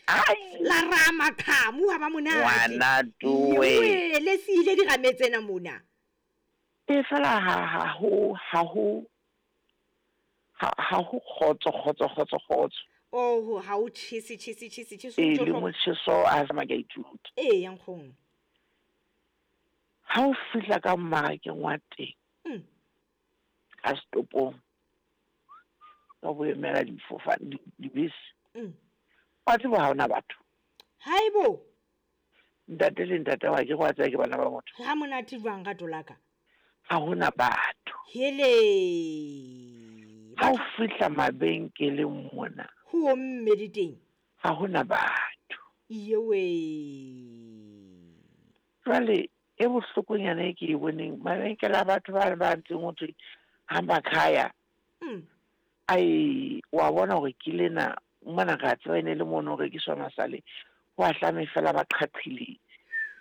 La raya maqhamu ha ba monate. Ngwana towe. Ewe, le siile dirame tsena mona. E fela ha ha ho ha ho ha ha ho kgotso kgotso kgotso kgotso. Oh, ha o tjhese tjhese tjhese tjhese. E le motjheso a sama ke a ithuta. Ee, ya nkgono. Ha o fihla ka mmarakeng wa teng. Ka setopong. Ka boemela difofane dibese. Wa tseba ha hona batho. Haibo. Ntate le ntate wa ke go tsaya ke bana ba motho. Ha monate jwang rato la ka? Ha hona batho. Hele. Ha o fihla mabenkeleng mona. Ho omme di teng. Ha hona batho. Iyewe. Jwale e bohlokonyana e ke e boneng mabenkele a batho ba ba ntseng ho thwe hamba khaya. Ai wa bona hore ke lena mona re a tseba e ne le mono ho rekiswa masale ho a hlame fela ba qhaqhile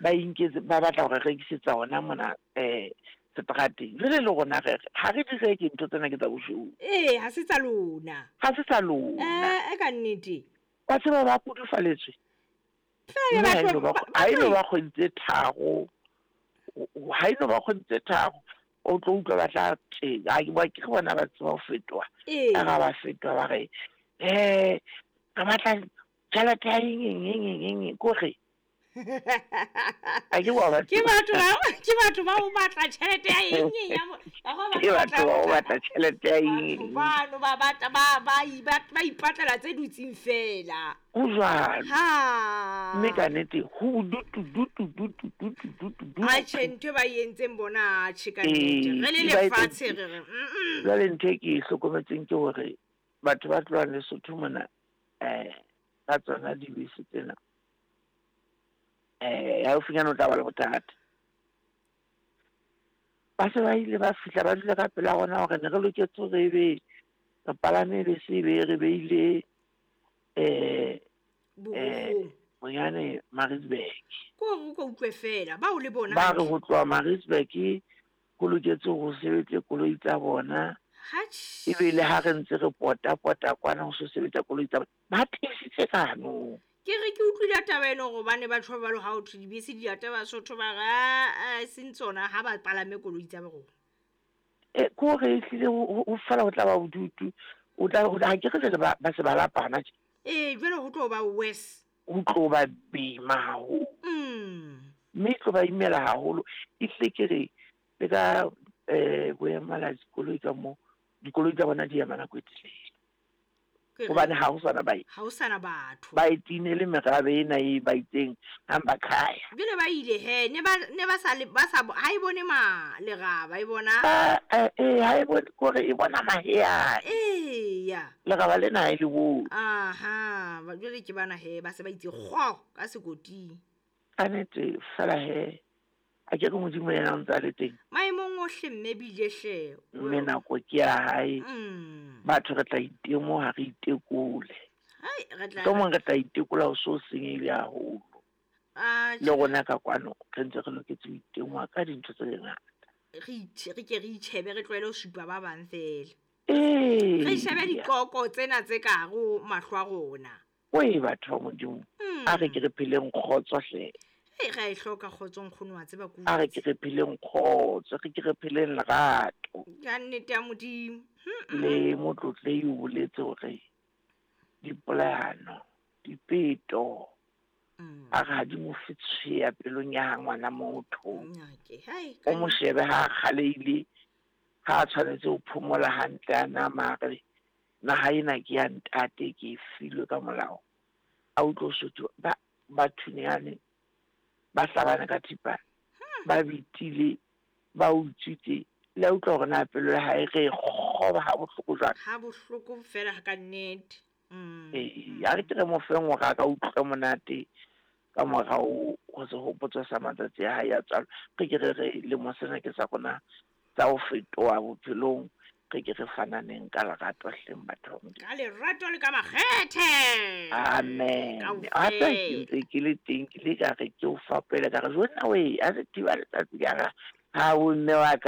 ba inketse ba batla hore rekisetsa hona mona seterateng. Jwale le rona re ha re di reke ntho tsena ke tsa boshodu. Ee, ha se tsa lona. Ha se tsa lona. Ka nnete. Wa tseba ba kudufaletswe. Fela batho ha eno ba kgwedi tse tharo. Ha eno ba kgwedi tse tharo. O tlo utlwa ba tla tje. Ha ke ba ke bona ba tseba ho fetoha. Ee. Ka ba fetoha ba re re batla tjhelete ya eng eng eng eng eng ko re. A ke wa ba Ke batho ba ke batho ba ho batla tjhelete ya eng eng ya Ke batho ba ho batla tjhelete ya eng eng. Bano ba batla ba ba ba ipatlela tse dutseng fela. Ho jwalo. Ha. Mme ka nnete ho dutu dutu dutu dutu dutu dutu. Atjhe ntho ba entseng bona atjhe ka nnete. Re le lefatshe re re. Jwale ntho e ke e hlokometseng ke hore batho ba tlohang Lesotho mona ka tsona dibese tsena. Haufinyane o tla ba le bothata. Ba se ba ile ba fihla ba dula ka pela rona hore ne re loketse hore ebe re palame bese ebe re beile bonyane Maritzburg. Ko hore o ko utlwe fela bao le bona. Ba re ho tloha Maritzburg ho loketse ho sebetse koloi tsa bona. Hatjhe. Ebe le ha re ntse re pota pota kwana ho so sebetsa koloi tsa bona. Ba tiisitse ka hanong. Ke re ke utlwile taba eno hobane batho ba balo ha ho thwe dibese di ata Basotho ba re seng tsona ha ba palame koloi tsa rona. Ko re ehlile ho fela ho tla ba bodutu. O tla ha ke re jwale ba se ba lapana tje. Jwale ho tlo ba worse. Ho tlo ba boima haholo. Mme e tlo ba imela haholo. Ehlile ke re le ka boemela dikoloi ka mo dikoloi tsa bona di ema nako e telele. Hobane ha ho sana baeti. Ha ho sana batho. Baeti ne le merabe ena e ba itseng hamba khaya. Jwale ba ile he ne ba sa le ba sa ha e bone ma leraba e bona. Ha e bone kore e bona maheane. Eya. Leraba lena ha e le bone. Aha, jwale ke bana he ba se ba itse kgo ka sekoting. Ka nnete fela he. A ke re Modimo yena o ntse a le teng. Maemong ohle mme bile hle. Mme nako ke ya hae. Batho re tla itemoha re itekole. Hai, re tla. Mohlomong re tla itekola ho so senyehile haholo. Le rona ka kwano re ntse re loketse ho itemoha ka dintho tse ngata. Re ke re itjhebe re tlohele ho supa ba bang fela. Re shebe dikoko tsena tse ka hare ho mahlo a rona. Oe batho ba Modimo. A re ke re pheleng kgotso hle. Re a e hloka kgotso nkgono wa tseba ku. A re ke re pheleng kgotso, re ke re pheleng lerato. Ka nnete ya Modimo. Le motlotlei o boletse hore dipolayano, dipeto, a re ha di mo fe tsheya pelong ya ngwana motho. O mo shebe ha a kgaleile, ha a tshwanetse ho phomola hantle a nama a re naha ena ke ya ntate ke e filwe ka molao. A utlwe Sotho ba thunyane. Ba hlabana ka thipa, ba bitile, ba utswitse, le a utlwa hore na pelo ya hae re kgoba ha bohloko jwang. Ha bohloko fela ka nnete. A re ke re mo feng hore a ka utlwa monate ka morao ho sehopotso sa matsatsi a hae a tswalo. Re ke re re lemo sena ke sa rona tsa ho fetoha bophelong. Re ke re fananeng ka lerato hleng batho ba Modimo. Ka lerato le ka makgethe. Amen. A tla ke ntse ke le teng ke le ka re ke o fapele ka re jonna we a se thiba letsatsi ka re ha o mme wa ka.